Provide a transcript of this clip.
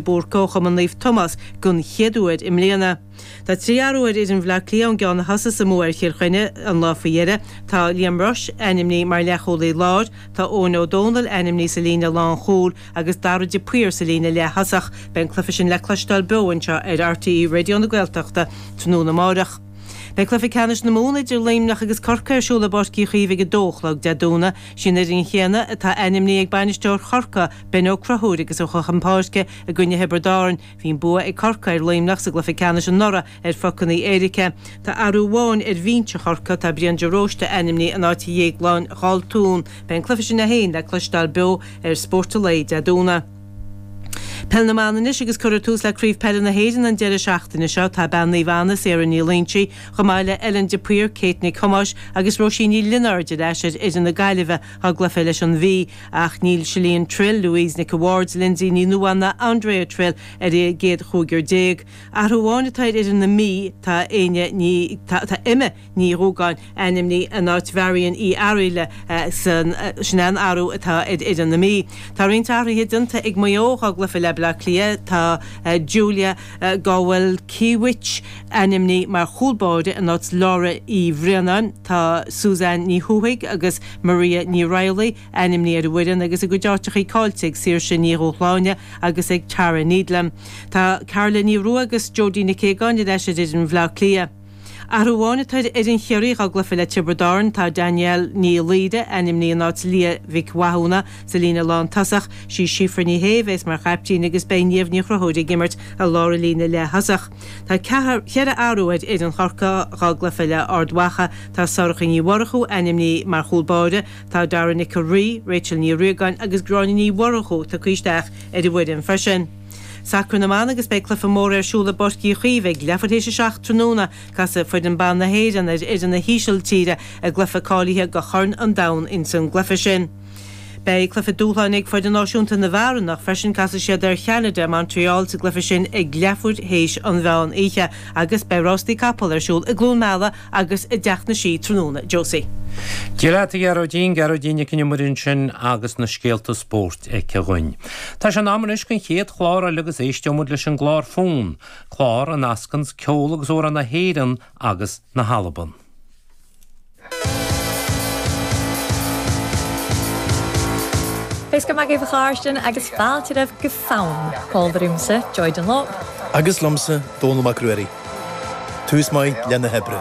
Búrca ó Chumann Naomh Tomás don chéad uair i mbliana. Tá 3 athrú ar fhoireann Bhaile Átha Cliath ón gceann a thosaigh sa mbua ar Chill Chainnigh an lá faoi dheireadh. Tá Liam Rushe ainmnithe mar leathchúlaí láir, tá Eoin Ó Dónaill ainmnithe sa líne lánchúil agus Darragh de Paor sa líne leath-thosach. Beidh an cluiche sin le cloisteáil beo anseo ar RTÉ Raidió na Gaeltachta tráthnóna amárach. Beidh cluiche ceannais na Mumhan idir Luimneach agus Corcaigh ar siúl i bPáirc Uí Chaoimh ag 2 a chlog Dé Domhnaigh. Sin an fhoireann chéanna atá ainmnithe ag bainisteoir Chorcaí, Ben Ó Conchúir agus a chun páirce i gcoinne Thiobraid Árann. Bhí an bua ag Corcaigh ar Luimneach sa gcluiche ceannais anuraidh ar phocanna éirice. Tá athrú amháin ar bhinse Chorcaí, tá Brian de Róiste ainmnithe in áit Dhéagláin Dhaltún. Beidh an cluiche sin é féin le cloisteáil beo ar Spórt an Lae Dé Domhnaigh. Peil na mBan anois agus cuirfear tús le Craobh Peile na hÉireann an deireadh seachtaine seo. Tá bean Naomh Anna, Sarah Ní Loingsigh, chomh maith le Ellen de Paor, Kate Nic Thomáis agus Róisín Ní Lionáird ar ais ar fhoireann na Gaillimhe dá gcluiche leis an Mhí. Ach níl Shalene Trill, Louise Nic a' Bhaird, Lindsay Ní Nuadháin ná Andrea Trill ar an gcéad chúigear déag. Athrú amháin atá ar fhoireann na Mí, tá Éinne Ní, tá Emma Ní Dhúgáin ainmnithe in áit Mharion Uí Fhearghaile san sin an athrú atá ar fhoireann na Mí. Tá roinnt athruithe déanta ag Maigh Eo dá gcluiche le Baile Átha Cliath. Tá Julia Gawelkiewicz ainmnithe mar chúl báire in áit Laura Uí Bhraonáin. Tá Suzanne Ní Thuathaigh agus Maria Ní Raghallaigh ainmnithe ar an bhfoireann agus a gcuid áiteachaí caillte ag Saoirse Ní Dhúshláine agus ag Tara Needlam. Tá Carla Ní Rua agus Jodie Nic Aogáin ar ais ar fhoireann Bhaile Átha Cliath. Athrú amháin atá ar fhoireann Chiarraí dá gcluiche le Tiobraid Árann. Tá Danielle Ní Laoire ainmnithe in áit Leah Mhic Mhathúna sa líne lántosach. Sí Síofra Ní Shé a bheas mar chaiptín agus beidh Niamh Ní Chonchúir ag imirt i lár an líne leath-thosach. Tá ceithre athrú ar fhoireann Chorcaí dá gcluiche le Ard Mhacha. Tá Sorcha Ní Mhurchú ainmnithe mar chúl báire. Tá Dara Nic an Rí, Rachel Ní Riagáin agus Gráinne Ní Mhurchú tugtha isteach ar an bhfoireann freisin. Sacar na mBan agus beidh cluiche mór ar siúl i bPáirc Uí Chaoimh ag leathuair théis 7 tráthnóna. Casfaidh foireann ban na hÉireann ar fhoireann na hÍsiltíre i gcluiche cáilithe do Chorn an Domhain ins an gcluiche sin. Beidh cluiche dúshláin ag foireann náisiúnta na bhfear anocht freisin, casfaidh siad ar Cheanada i Montreal sa gcluiche sin ag leathuair théis an mheán oíche agus beidh rástaí capall ar siúl i gCluain Meala agus i dTeach na Sí tráthnóna. Josie. Dia leat a Ghearóidín, Gearóidín Nic an Iomaire ansin agus na scéalta spóirt aici dhúinn. Tá sé in am anois don chéad chlár eile agus éisteoidh muid leis an gclár Fonn, clár a nascanns ceol agus amhráin na hÉireann agus na hAlban. Beidh go maith agaibh a chàirdin agus fàilte roimh gu Fonn. Fàilte romhamsa, Joy Dunlop. Agus liomsa, Dónall Mac Ruairí. Tús maith le na hoibre.